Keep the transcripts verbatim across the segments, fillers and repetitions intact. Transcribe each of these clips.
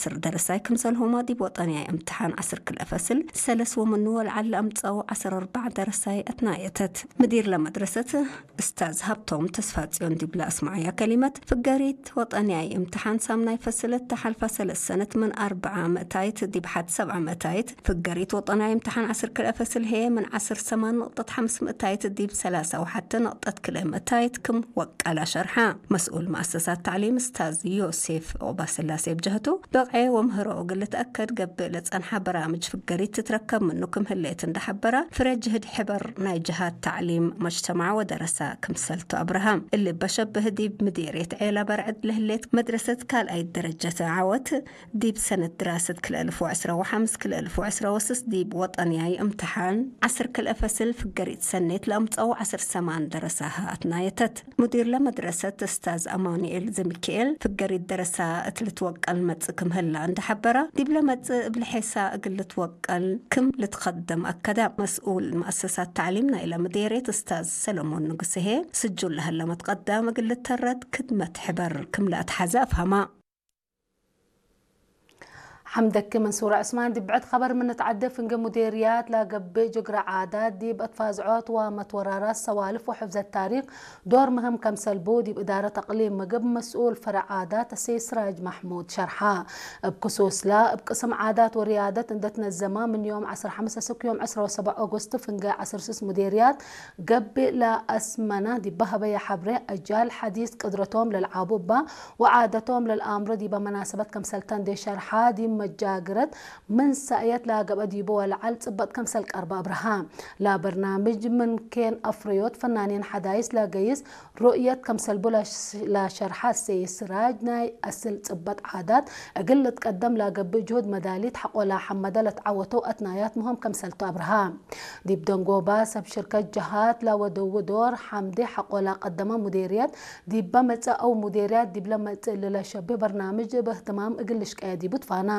ዐስር ደረሳይ ክምሰልሁመ ዲብ ወጠንያይ እምትሓን ዐስር ክልኤ ፈስል ሰለስ ወምኑ ወለዐል ለአምጸው ዐስር አርበዕ ደረሳይ አትናየተት። ምዲር ለመድረሰት እስታዝ ሀብቶም ተስፋጽዮን ዲብለ አስመዐያ ከሊመት፣ ፍገሪት ወጠንያይ እምትሓን ሳምናይ ፈስል እተ ሐልፈ ሰለስ ሰነት ምን አርበዓ ምእታይት ዲብ ሐድ ሰብዓ ምእታይት፣ ፍገሪት ወጠንያይ እምትሓን ዐስር ክልኤ ፈስል ህዬ ምን ዐስር ሰማን ንቅጠት ሐምስ ምእታይት ዲብ ሰላሳ ወሐተ ንቅጠት ክልኤ ምእታይት ክም ወቀለ ሸርሐ። መስኡል መአሰሳት ተዕሊም እስታዝ ዮሴፍ ዑቅባስላሴ እብ ጀህቱ፣ በቅዔ ወምህሮ እግል ልትአከድ ገብእ ለጸንሐ በራምጅ ፍገሪት ትትረከብ ምኑ ክም ህሌት እንደ ሐበረ፣ ፍሬ ጅህድ ሕበር ናይ ጀሃት ተዕሊም፣ መጅተማዕ ወደረሳ ክምሰልቱ አብረሀ። እሊ በሸብህ ዲብ ምዴርየት ዔላ በርዕድ ለህሌት መድረሰት ካልኣይት ደረጀት ዐወት፣ ዲብ ሰነት ድራሰት ክልኤ አልፍ ወዕስራ ወሐምስ ክልኤ አልፍ ወዕስራ ወስስ ዲብ ወጠንያይ እምትሓን ዐስር ክልኤ ፈስል ፍገሪት ሰኔት ለአምጸው ዐስር ሰማን ደረሳሀ አትናየተት። ሙዲር ለመድረሰት እስታዝ አማኑኤል ዘሚካኤል፣ ፍገሪት ደረሳ እት ልትወቀል መጽእ ክም ህላ እንደ ሐበረ፣ ዲብለ መጽእ እብ ለሔሳ እግል ልትወቀል ክም ልትከደም አከደ። መስኡል መአሰሳት ተዕሊም ናይለ ምዴርየት እስታዝ ሰለሞን ንጉሴ ህዬ፣ ስጁል ለሀለ መትቀዳም እግል ልተረት ክድመት ሕበር ክም ለአትሐዘ አፍሀመ። ሐምደኪ መንሱር ዑስማን። ዲብ ብዕድ ኸበር ምን ንትዐደ፣ ፍንጌ ሙዴርያት ለገብእ ጅግረ ዓዳት ዲብ አትፋዝዖት ወመትወራራት ሰዋልፍ ወሕፍዘት ታሪክ ዶር ምህም ከምሰል ቡ፣ ዲብ እዳረት አቅሊም ምግብ መስኡል ፈረዕ ዓዳት አሰይድ ስራጅ መሕሙድ ሸርሐ። እብ ክሱስለ፣ እብ ቅስም ዓዳት ወርያደት እንደ ትነዘመ፣ ምን ዮም ዐስር ሐምስ እስክ ዮም ዕስራ ወሰብዕ ኦጎስት ፍንጌ ዐስር ስስ ሙዴርያት ገብእ ለአስመነ ዲብ ሀበየ ሐብሬ፣ አጃል ሐዲስ ቅድረቶም ለልዓቡ እባ ወዓደቶም ለልአምሮ ዲበ መናሰበት ከምሰል ተ እንዴ ሸርሐ፣ ዲብ መጃግረት ምን ሰእየት ለገብአ ዲቡ ወለዐል ጽበጥ ከምሰል ቀርበ አብርሃ። ለበርናምጅ ምን ኬን አፍረዮት ፈናኒን ሐዳይስ ለገይስ ሩእየት ከምሰል ቡ ለሸርሐ አሰይድ ስራጅ፣ ናይ አስል ጽበጥ ዓዳት እግል ልትቀደም ለገብእ ጅሁድ መዳሊት ሐቆ ለሐመደ ለትዐወተው አትናያት ምህም ከምሰልቱ አብርሃ። ዲብ ደንጎባ ሰብ ሽርከት ጀሃት ለወደዉ ዶር ሐምዴ ሐቆ ለቀደመ ሙዴርየት፣ ዲበ መጽእ አው ሙዴርያት ዲብለ መጽእ እሊ ለሸብህ በርናምጅ እብ እህትማም እግል ልሽቀየ ዲቡ ትፋና።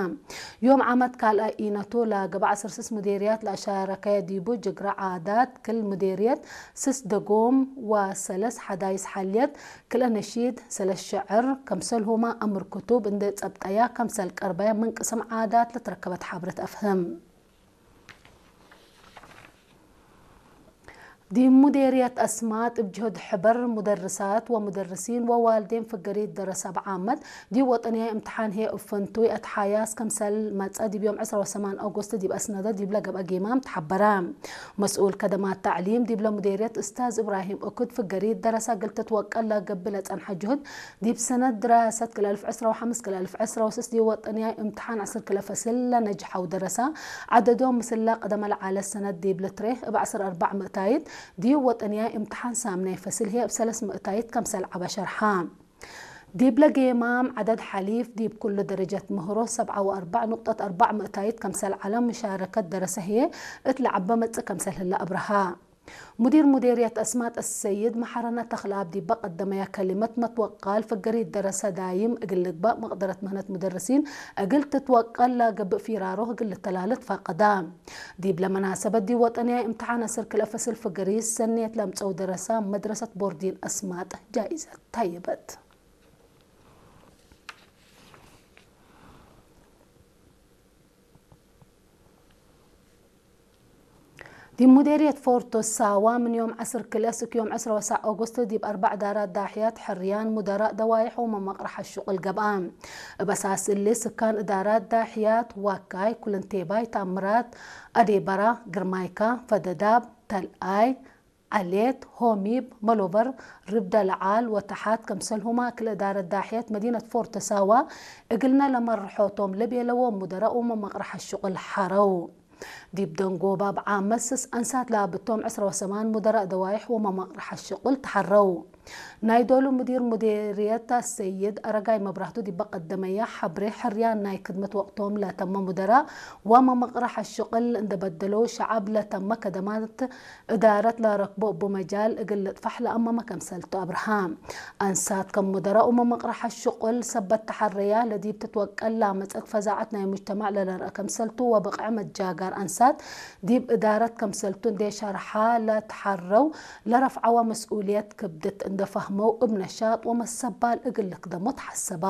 ዮም ዓመት ካልኣይ ኢነቱ ለገብአ ዐስር ስስ ሙዴርያት ለአሻረከየ ዲቡ ጅግረ ዓዳት፣ ክል ሙዴርየት ስስ ደጎም ወሰለስ ሐዳይስ ሐልየት፣ ክልኤ ነሺድ፣ ሰለስ ሸዕር፣ ከምሰልሁመ አምር ክቱብ እንዴ ጸብጠያ ከምሰል ቀርበየ ምን ቅስም ዓዳት ለትረከበት ሐብረት አፍህም። ዲብ ሙዴርየት አስማጥ እብ ጅሁድ ሕበር ሙደርሳት ወሙደርሲን ወዋልዴን ፍገሪት ደረሰ አብ ዓመት ዲብ ወጠንያይ እምትሓን ህዬ እብ ፍንቱይ አትሓያስ ከምሰል መጸ ዲብ ዮም ዕስራ ወሰማን ኦጎስት ዲብ አስነደ ዲብለ ገብአ ጌማም ተሐበረ። መስኡል ከደማት ተዕሊም ዲብለ ሙዴርየት እስታዝ እብራሂም እኩድ ፍገሪት ደረሰ እግል ትትወቀል ለገብእ ለጸንሐ ጅሁድ ዲብ ሰነት ድራሰት ክልኤ አልፍ ዕስራ ወሐምስ ክልኤ አልፍ ዕስራ ወስስ ዲብ ወጠንያይ እምትሓን ዐስር ክልኤ ፈስል ለነጅሐው ደረሰ ዐደዶም ምስለ ቅደመ ለዐለ ሰነት ዲብ ልትሬህ እብ ዐስር አርበዕ ምእታይት፣ ዲብ ወጠንያይ እምትሓን ሳምናይ ፈስል ህዬ እብ ሰለስ ምእታይት ከምሰል ዐበ ሸርሐ። ዲብለ ጌማም ዐደድ ሐሊፍ ዲብ ኩሉ ደረጀት ምህሮ ሰብዓ ወአርበዕ ኑቅጠት አርበዕ ምእታይት ከምሰል ዐለ፣ ምሻረከት ደረሰ ህዬ እት ለዐበ መጽእ ከምሰል ህለ አብርሃ። ሙዲር ሙዴርየት አስማጥ አሰይድ መሐረነ ተኽለአብ ዲበ ቀደመየ ከሊመት፣ መትወቃል ፍገሪት ደረሰ ዳይም እግል ልግበእ፣ መቅደረት ምህነት ሙደርሲን እግል ትትወቀል ለገብእ ፊራሮህ እግል ልተላለ ትፈቀደ። ዲብለ መናሰበት ዲብ ወጠንያይ እምትሓን ዐስር ክልኤ ፈስል ፍገሪት ሰኔት ለአምጸው ደረሰ መድረሰት ቦርዲን አስማጥ ጃኢዘት ታየበት። ዲብ ሙዴርየት ፎርቶ ሳዋ ምን ዮም ዐስር ክልኤ እስክ ዮም ዕስራ ወሰዕ ኦጎስት ዲብ አርበዕ እዳራት ዳሕያት፣ ሕርያን፣ ሙደራእ፣ ደዋይሕ ወመመቅረሐ ሽቁል ገብአ። እብ አሳስ እሊ ስካን እዳራት ዳሕያት ዋካይ፣ ኩልንቴባይ፣ ታምራት፣ አዴበራ፣ ግርማይካ፣ ፈደዳብ፣ ተልአይ፣ ዐሌት፣ ሆሚብ፣ መሎበር፣ ርብደ ለዓል ወተሓት፣ ከምሰልሁመ ክል እዳረት ዳሕየት መዲነት ፎርቶ ሳዋ እግልነ ለመርሖቶም ለቤለዎም ሙደራእ ወመመቅረሐ ሽቁል ሐረው። ዲብ ደንጎባ እብ ዓመት ስስ አንሳት ለአብቶም ዕስራ ወሰማን ሙደራእ ደዋይሕ ወመመቅረሐ ሽቁል ተሐረው። ናይ ዶሉ ሙዲር ሙዴርየት አሰይድ አረጋይ መብራህቱ ዲበ ቀደመየ ሐብሬ፣ ሕርያን ናይ ክድመት ወቅቶም ለተመ ሙደራእ ወመመቅረሐ ሽቁል እንደ በደለው ሸዐብ ለተመ ከደማት እዳረት ለረክቦ እቡ መጃል እግል ልጥፈሕ ለአመመ ከምሰልቱ አብርሃ። አንሳት ከም ሙደራእ ወመመቅረሐ ሽቁል ሰበት ተሐረያ ለዲብ ትትወቀል ለአመጸት ፈዛዐት ናይ ሙጅተማዕ ለለርአ ከምሰልቱ ወብቅዕ መጃጋር አንሳት ዲብ እዳረት ከምሰልቱ እንዴ ሸርሐ ለተሐረው ለረፍዐወ መስኡልየት ክብድት እንደ ፈህመው እብ ነሻጥ ወመሰባል እግል ልክደሞ ተሐሰባ።